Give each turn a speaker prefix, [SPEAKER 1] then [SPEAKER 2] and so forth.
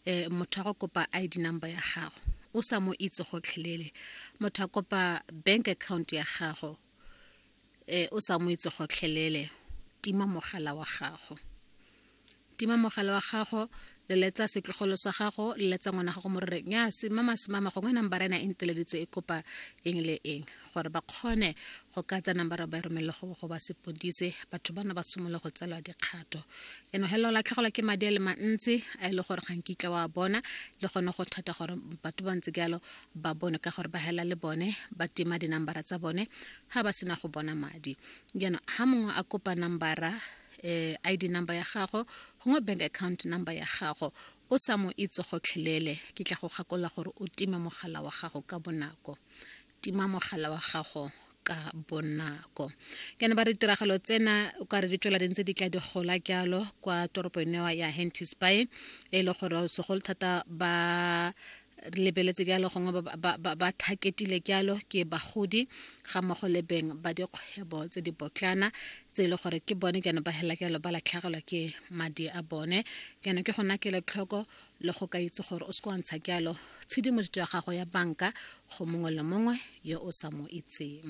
[SPEAKER 1] Um motho a go kopa ID number ya gago o sa mo itse gotlhelele, motho a kopa bank account ya gago um o sa mo itse gotlhelele, tima mogala wa gago. Tima mogala wa gago, leletsa setlogolo sa gago, leletsa ngwana gago mo rere nya semama semama gongwe nambara ena e nteleditse e kopa eng le eng, gore ba kgone go ka tsa nambara ba e romelele go ba sepodise, batho bana ba simolola go tselwa dikgato. Jaanong hela o latlhegelwa ke madi a le mantsi a e le gore ga nkitla wa bona, le gone go thata gore batho ba ntse jalo ba bone ka gore ba hela le bone ba tima dinambara tsa bone ga ba sena go bona madi. Jaanong ha mongwe a kopa nambara ID number ya gago gongwe bank account number ya gago o sa mo itse gotlhelele, ke tla go gakolola gore o time mogala wa gago ka bonako. Tima mogala wa gago ka bonako. Ke ne ba re ditiragalo tsena o ka re di tswela di ntse di tla di gola jalo kwa toropong eo ya Henties Bay, e le gore segolo thata ba lebeletse jalo gongwe ba thaketile jalo ke bagodi ga mmogo le beng ba dikgwebo tse di botlana tse e le gore ke bone jaanong ba hela jalo ba latlhegelwa ke madi a bone. Jaanong ke gona kelotlhoko le go ka itse gore o se wa ntsha jalo tshedimosetso ya gago ya banka go mongwe le mongwe yo o sa mo itseng.